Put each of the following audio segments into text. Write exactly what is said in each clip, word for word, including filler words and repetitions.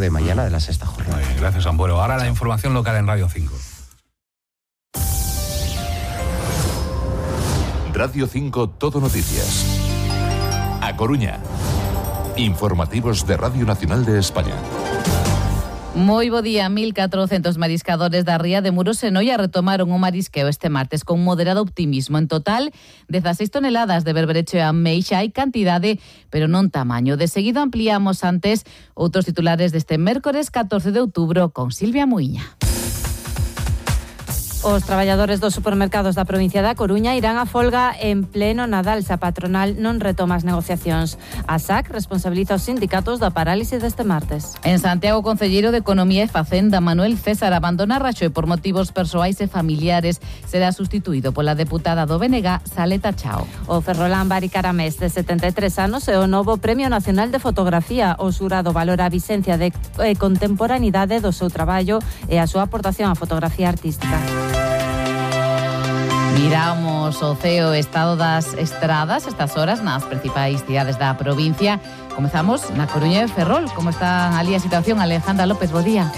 de mañana de la sexta jornada. Muy bien, gracias, Ambuelo. Ahora la información local en Radio cinco. Radio cinco Todo Noticias. A Coruña. Informativos de Radio Nacional de España. Moi bo día, mil catrocentos mariscadores da ría de Muros e Noia retomaron o marisqueo este martes con moderado optimismo. En total, dezasseis toneladas de berberecho e ameixa hai cantidade, pero non tamaño. De seguido ampliamos antes outros titulares deste mércores catorce de outubro con Silvia Muiña. Os traballadores dos supermercados da provincia da Coruña irán a folga en pleno Nadal se a patronal non retoma as negociacións. A S A C responsabiliza os sindicatos da parálise deste martes. En Santiago, o concelleiro de Economía e Facenda, Manuel César, abandona Raxoi por motivos persoais e familiares. Será sustituído pola deputada do B N G, Saleta Chao. O ferrolán Bari Caramés, de setenta e tres anos, é o novo Premio Nacional de Fotografía. O xurado valora a vixencia de contemporaneidade do seu traballo e a súa aportación á fotografía artística. Miramos o ceo estado das estradas estas horas nas principais cidades da provincia. Comezamos na Coruña e Ferrol. Como está ali a situación, Alejandra López? Bo día.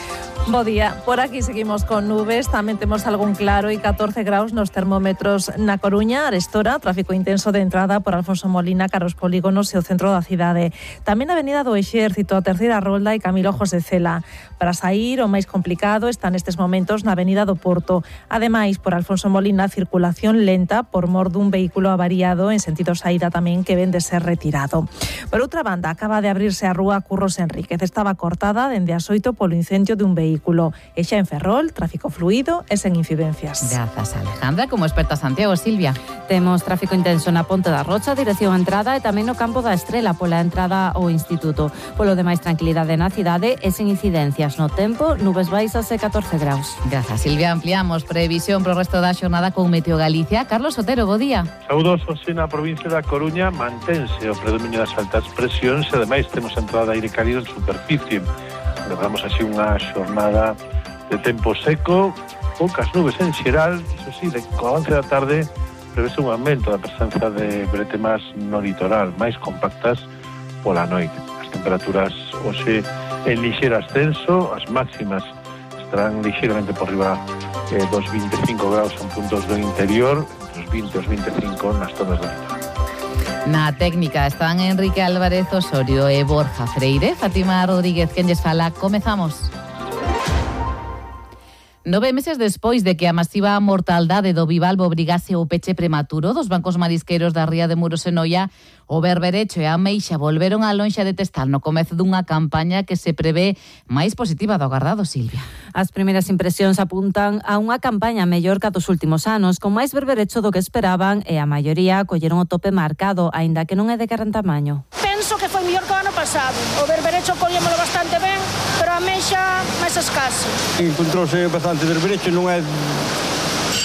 Bo día. Por aquí seguimos con nubes, tamén temos algún claro e catorce graus nos termómetros na Coruña, arestora, tráfico intenso de entrada por Alfonso Molina, Carros Polígonos e o centro da cidade. Tamén a Avenida do Exército, a Terceira Rolda e Camilo José Cela. Para sair, o máis complicado está nestes momentos na Avenida do Porto. Ademais, por Alfonso Molina, circulación lenta por mor dun vehículo avariado en sentido saída tamén que ven de ser retirado. Por outra banda, acaba de abrirse a rúa Curros Enríquez. Estaba cortada dende as oito polo incendio dun vehículo. E xa en Ferrol, tráfico fluido e sen incidencias. Grazas, Alejandra. Como experta Santiago, Silvia. Temos tráfico intenso na Ponte da Rocha, dirección a entrada, e tamén no Campo da Estrela, pola entrada ao Instituto. Polo demais, tranquilidade na cidade e sen incidencias no tempo, nubes baixas e catorce graus. Grazas, Silvia. Ampliamos previsión pro resto da xornada con Meteo Galicia. Carlos Otero, bo día. Saúdos, hoxe na provincia da Coruña mantense o predominio das altas presións e ademais temos entrada de aire cálido en superficie. Levamos así unha xornada de tempo seco, poucas nubes en xeral, iso sí, de co avance da tarde prevese un aumento da presenza de bretemas no litoral, máis compactas pola noite. As temperaturas hoxe en lixeiro ascenso, as máximas estarán lixeiramente por riba eh, dos vinte e cinco graus en puntos do interior, entre os vinte e os vinte e cinco nas zonas do litoral. Na técnica están Enrique Álvarez Osorio e Borja Freire. Fátima Rodríguez, quen lles fala. Comezamos. Nove meses despois de que a masiva mortaldade do bivalvo obrigase o peche prematuro dos bancos marisqueiros da ría de Muros e Noia, o berberecho e a ameixa volveron á lonxa de Testal no comezo dunha campaña que se prevé máis positiva do agardado, Silvia. As primeiras impresións apuntan a unha campaña mellor que a dos últimos anos, con máis berberecho do que esperaban e a maioría colleron o tope marcado, aínda que non é de gran tamaño. Penso que foi mellor que o ano pasado. O berberecho collémolo bastante ben, pero a ameixa máis escaso. Encontrouse bastante berberecho, non é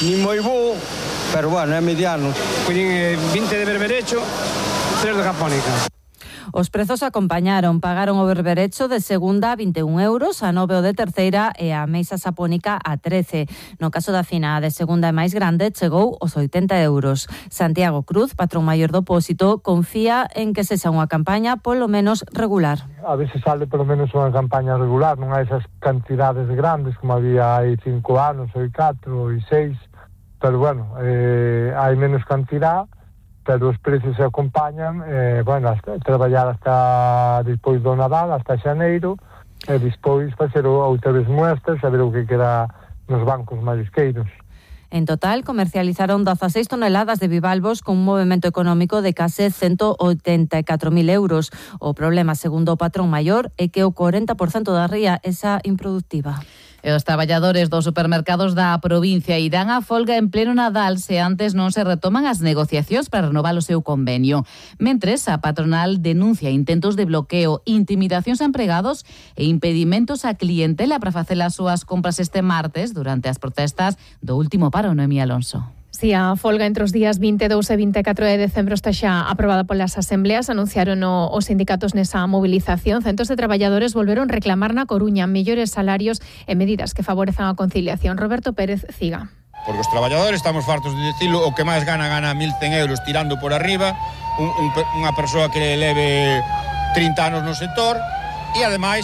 ni moi bo, pero bueno, é mediano. Collín vinte de berberecho, tres de japónica. Os prezos acompañaron, pagaron o berberecho de segunda a vinte e un euros, a nove o de terceira e a ameixa sapónica a trece. No caso da fina, a de segunda e máis grande, chegou aos oitenta euros. Santiago Cruz, patrón maior do Pósito, confía en que sexa unha campaña polo menos regular. A ver se sale polo menos unha campaña regular, non hai esas cantidades grandes como había hai cinco anos, hai catro, hai seis, pero bueno, eh, hai menos cantidad, pero os precios se acompañan, eh, bueno, hasta, traballar hasta despois do Nadal, hasta xaneiro, e despois facer outras muestras, a ver o que queda nos bancos marisqueiros. En total, comercializaron dezasseis toneladas de bivalvos con un movimento económico de case ciento oitenta e catro mil euros. O problema, segundo o patrón maior, é que o corenta por cento da ría é xa improductiva. E os traballadores dos supermercados da provincia irán a folga en pleno Nadal se antes non se retoman as negociacións para renovar o seu convenio. Mentres, a patronal denuncia intentos de bloqueo, intimidacións a empregados e impedimentos a clientela para facer as súas compras este martes durante as protestas do último paro, Noemí Alonso. Si a folga entre os días vinte e dous e vinte e catro de decembro está xa aprobada polas asembleas, anunciaron o, os sindicatos nesa movilización. Centos de traballadores volveron reclamar na Coruña mellores salarios e medidas que favorezan a conciliación. Roberto Pérez Ciga. Porque os traballadores estamos fartos de dicilo, o que máis gana, gana mil cen euros tirando por arriba, un, un, unha persoa que leve trinta anos no sector, e ademais